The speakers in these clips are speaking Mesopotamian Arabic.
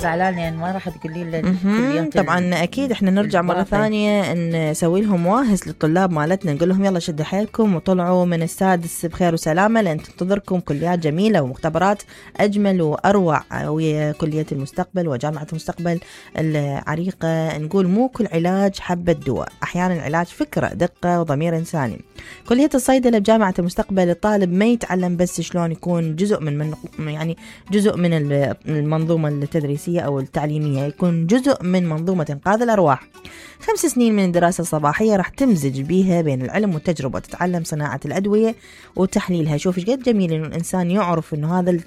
زعلان يعني ما راح تقولي لنا طبعا اكيد احنا نرجع مرة ثانية نسوي لهم واهس للطلاب مالتنا، نقول لهم يلا شدوا حيلكم وطلعوا من السادس بخير وسلامة، لان تنتظركم كليات جميلة ومختبرات اجمل واروع، وهي كلية المستقبل وجامعة المستقبل العريقة. نقول مو كل علاج حبة دواء، احيانا العلاج فكرة، دقة وضمير انساني. كلية الصيدلة بجامعة المستقبل الطالب ما يتعلم بس شلون يكون جزء من المنظومة التدريسية أو التعليمية، يكون جزء من منظومة إنقاذ الأرواح. 5 سنين من الدراسة الصباحية راح تمزج بيها بين العلم والتجربة، تتعلم صناعة الأدوية وتحليلها. شوف ايش قد جميل إنه الإنسان يعرف إنه هذا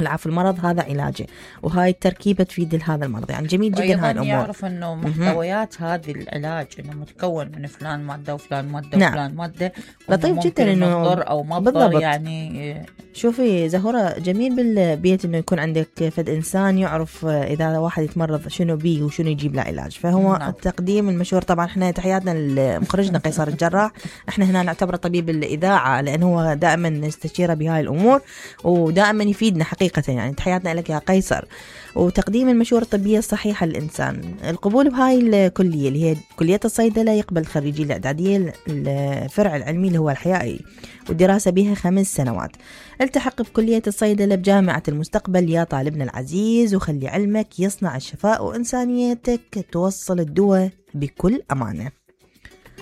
العفو المرض هذا علاجه، وهاي التركيبة تفيد هذا المرض. يعني جميل جدا هاي الأمور. يعرف إنه محتويات هذه العلاج إنه متكون من فلان مادة وفلان مادة نعم. وفلان مادة، لطيف جدا إنه مضر أو ما مضر. يعني شوفي زهورة، جميل بالبيت إنه يكون عندك فد إنسان يعرف إذا واحد يتمرض شنو بيه وشنو يجيب له علاج. فهو نعم. التقديم المشهور. طبعا إحنا تحياتنا لمخرجنا قيصر الجراح، إحنا هنا نعتبره طبيب الإذاعة لأنه هو دائما نستشيره بهاي الأمور ودائما يفيدنا حقيقة. يعني تحياتنا لك يا قيصر. وتقديم المشورة الطبية الصحيحة للإنسان. القبول بهاي الكلية اللي هي كلية الصيدلة يقبل خريجي الإعدادية الفرع العلمي اللي هو الحيائي، والدراسة بها 5 سنوات. التحق بكلية الصيدلة بجامعة المستقبل يا طالبنا العزيز، وخلي علمك يصنع الشفاء وإنسانيتك توصل الدواء بكل أمانة.